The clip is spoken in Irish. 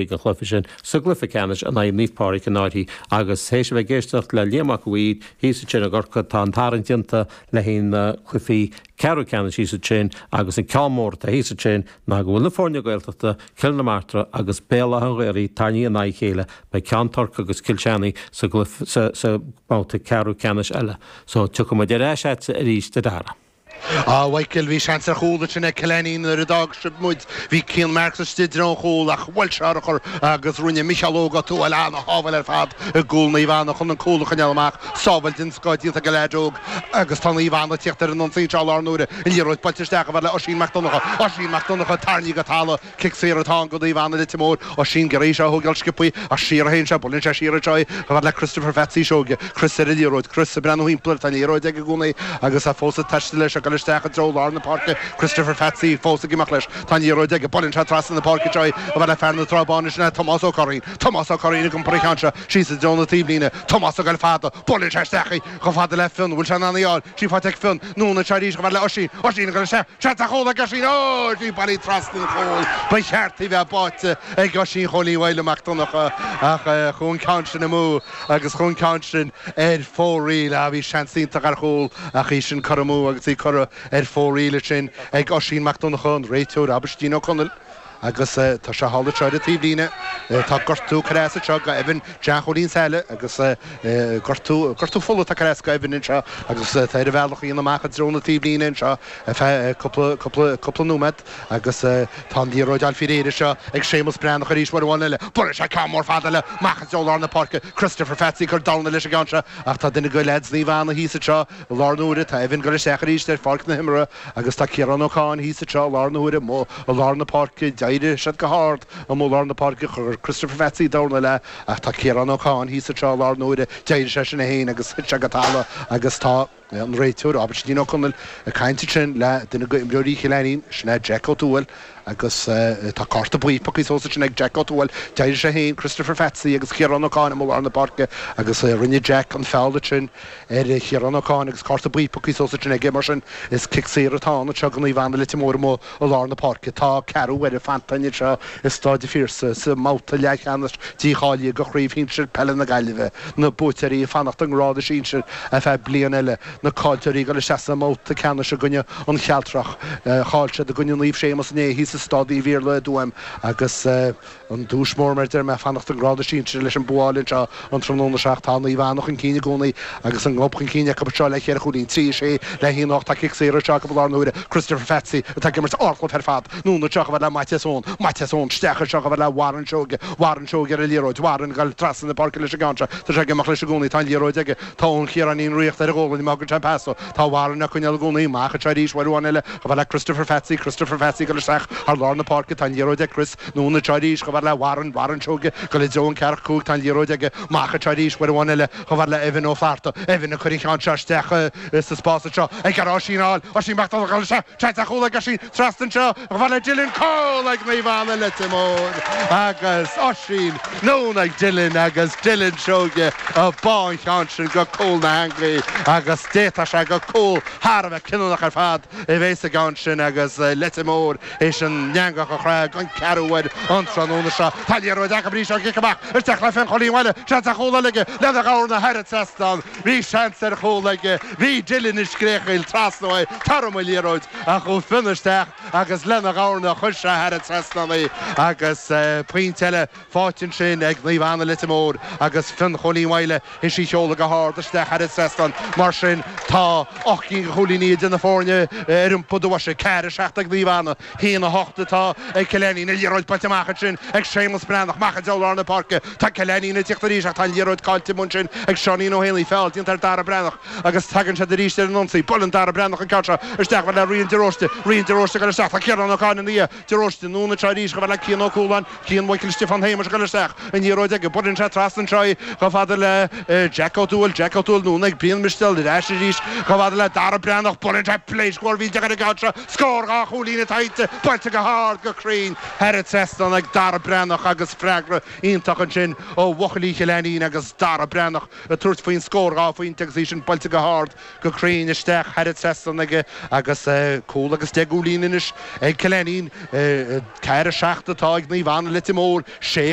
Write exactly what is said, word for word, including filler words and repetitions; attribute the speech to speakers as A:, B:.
A: An chluiche sin sa gcluiche ceannais in aghaidh Naomh Pádraig in Áirí agus théis a bheith ag éisteacht le Liam Mac Uí thíos ansin i gCorcaigh tá an tarraingt déanta le haghaidh na cluichí ceathrú ceannais thíos ansin agus an ceann mór atá thíos ansin ná go bhfuil na foirne Gaeltachta Cill na Martra agus Béal Átha an Ghaorthaidh tarraingthe in aghaidh a chéile beidh Ceann Toirc agus Cill Chainnigh sa sa sa mbabhta ceathrú ceannais eile. So tiocfaidh muid ar ais agatsa arís a Dara.
B: Á Mhichael bhí seans ar chúl ansin ag Cill Ainnín nuair a d'fhág sibh muid. Bhí Cian Marks istigh i dtreo an chúil ach bhuail sé urchar agus rinne Micheál Óg Ó Tuathail ana-shábháil ar fad i gcúl Naomh Anna chun an cúl a choinneáil amach. Sábháil den scoth déanta ag an leaid óg agus tá Naomh Anna ag tíocht ar an ionsaí anseo i lár na huaire. An liathróid buailte isteach chomh fada le Oisín Mac Donncha. Oisín Mac Donncha tarraingthe go talamh. Cic saor atá ann go Naomh Anna Leitir Móir. Oisín ag iarraidh í seo a thógáil sciobthaí ach siar a théann sé. Buaileann sé siar anseo í chomh fada le Christopher Pheatsaí Seoige. Chris ar an liathróid. Chris ag breathnú thimpeall air. Tá an liathróid aige i gcónaí agus é fós ag taisteal leis ag dul isteach i dtreo lár na páirce. Christopher Pheatsaí fós ag imeacht leis. Tá an liathróid aige. Buaileann sé trasna na páirce anseo í chomh fada le fear na Trá Báine sin é Tomás Ó Curraoin. Tomás Ó Curraoin ag iompar an cheann seo síos i dtreo na taobhlíne. Tomás ag dul fada. Buaileann sé isteach í chomh fada le Fionn. Bhfuil sé in ann í a fháil? Sí faighte ag Fionn. Anonn anseo arís chomh fada le Oisín. Oisín ag dul isteach. Seans ar chúl ag Oisín. Ó! Sí bailithe trasna an chúil. Ba cheart í bheith báite ag Oisín Chóilín Mhaidhc Mac Donncha ach chuaigh an ceann sin amú agus chuaigh an ceann sin ar fóraoil. Ah, bhí seans iontach ar chúl ach í sin curtha amú agus í curtha ar fóraoil ansin ag Oisín Mac Donncha, an réiteoir Aibhistín Ó Conaill. Agus tá sé thall anseo ar an taobhlíne. Tá gortú curtha as anseo go Evan Jean Chóilín Saile agus gortú, gortú fola atá curtha as go Evan anseo agus tá ar a bhealach a dhéanamh amach i dtreo na taobhlíne anseo ar feadh cúpla, cúpla, cúpla nóiméad agus tá an liathróid á fáil faoi réir anseo ag Séamus Breathnach arís uair amháin eile. Buaileann sé ceann mór fada eile amach i dtreo lár na páirce. Christopher Pheatsaí ag cur dorna leis an gceann seo ach tá duine de leaids Naomh Anna thíos anseo i lár na huaire. Tá Evan ag dul isteach arís ar pháirc na himeartha agus tá Ciarán Ó Cadhain thíos anseo i lár na huaire amuigh i lár na páirce. D'éirigh siad go hard amuigh i lár na páirce. Chuir Christopher Pheatsaí dorna leis ach tá Ciarán Ó Cadhain thíos anseo i lár na huaire. D'éirigh seisean é féin agus thit sé go talamh agus tá an réiteoir, Aibhistín Ó Conaill, ag caint ansin le duine d'imreoirí Chill Ainnín, sin é Jack Ó Tuathail agus tá cárta buí pioctha suas ansin ag Jack Ó Tuathail. D'éirigh sé féin, Christopher Pheatsaí agus Ciarán Ó Cadhain amuigh i lár na páirce agus rinne Jack an feall ansin ar Chiarán Ó Cadhain agus cárta buí pioctha suas ansin aige. Mar sin, is cic saor atá ann anseo do Naomh Anna Leitir Móir amuigh i lár na páirce. Tá ceathrú uaire fanta anseo i Stáid an Phiarsaigh sa mbabhta leathcheannais dícháilithe do Chraobh Shinsir Peile na Gaillimhe. Na buaiteoirí ag fanacht i ngrád a sinsir ar feadh bliain eile. Na caillteoirí ag dul isteach sa mbabhta ceannais i gcoinne an Chealtrach. Chaill siad i gcoinne Naomh Séamus inné thíos i Stáid Uí Mhíorla i dTuaim agus an duais mór mar a deir mé fanacht i ngrád a sinsir leis an bua a fháil anseo an tráthnóna seo ach tá Naomh Anna chun cinn i gcónaí agus an gob chun cinn acu anseo le ceithre chúilín, trí a sé le haon a hocht. Tá cic saor anseo acu i lár na huaire. Christopher Pheatsaí atá ag imirt ardchluiche ar fad. Anonn anseo chomh fada le Maitias Eoin. Maitias Eoin isteach anseo chomh fada le Warren Seoige. Warren Seoige ar an liathróid. Warren ag dul trasna na páirce leis an gceann seo. Tá sé ag imeacht leis i gcónaí. Tá an liathróid aige. Tá Eoin Chiaráinín riachta ar a ghualainn má thugann sé an pas dó. Tá Warren á coinneáil i gcónaí. Amach anseo arís uair amháin eile chomh fada le Christopher Pheatsaí. Christopher Pheatsaí ag dul isteach thar lár na páirce. Tá an liathróid ag Chris. Anonn anseo arís chomh fada le Warren. Warren Seoige ag dul i dtreo an ceathracha cúig. Tá an liathróid aige. Amach anseo arís uair amháin eile chomh fada le Evan Ó Flatharta. Evan ag cur an cheann seo isteach sa spás anseo. Ag iarraidh Oisín a fháil. Oisín Mac Donncha ag dul isteach. Seans ar chúl ag Oisín. Trasna anseo chomh fada le Dylan. Cúl ag Naomh Anna Leitir Móir agus Oisín anonn ag Dylan agus Dylan Seoige ag bá an cheann sin go cúl na heangaí agus d'fhéadfadh sé gur cúl thar a bheith cinniúnach ar fad a bheith sa gceann sin agus Leitir Móir théis an eangach a chroitheadh don ceathrú uair an tráthnóna seo. Tá liathróid acu arís ón gcic amach isteach le Fionn Chóilín Mhaidhle. Seans ar chúl eile aige lena dhorna thar an trasnán. Bhí seans ar chúl aige. Bhí Dylan ag scréachaíl trasna uaidh, tar orm an liathróid, ach chuaigh Fionn isteach agus lena dhorna chuir sé thar an trasnán í agus pointe eile faighte ansin ag Naomh Anna Leitir Móir agus Fionn Chóilín Mhaidhle théis í a sheoladh go hard isteach thar an trasnán. Mar sin tá ocht gcinn de chúilíní idir na foirne ar iompar do bhoise. Ceathair a seacht ag Naomh Anna, haon a hocht atá ag Cill Ainnín. An liathróid buailte amach ansin ag Séamus Breathnach, amach i dtreo lár na páirce. Tá Cill Ainnín ag tíocht arís ach tá an liathróid caillte amuigh ansin ag Seáinín Ó hÉanaí. Feall déanta ar Dara Breathnach agus tagann siad arís ar an ionsaí. Buaileann Dara Breathnach an ceann seo isteach chomh fada le Rian de Róiste. Rian de Róiste ag dul isteach. Tá Ciarán Ó Cadhain ina dhiaidh. De Róiste anonn anseo arís chomh fada le Cian Ó Cualáin. Cian Mhichael Stiofán Shéamais ag dul isteach. An liathróid aige. Buaileann sé trasna anseo í chomh fada le Jack Ó Tuathail. Jack Ó Tuathail anonn ag Brian Mistéal. Ar ais arís chomh fada le Dara Breathnach. Buaileann sé pléasc mhór mhillteach ar an gceann seo. Scór dhá chúilín atá inti. Buailte go hard, go cruinn thar an trasnán ag Dara Breathnach agus freagra iontach ansin ó bhuachaillí Chill Ainnín agus Dara Breathnach ag tabhairt faoin scór dhá phointe agus í sin buailte go hard, go cruinn isteach thar an trasnán aige agus cúl agus deich gcúilín anois. anois ag Cill Ainnín ceathair a seacht atá ag Naomh Anna Leitir Móir sé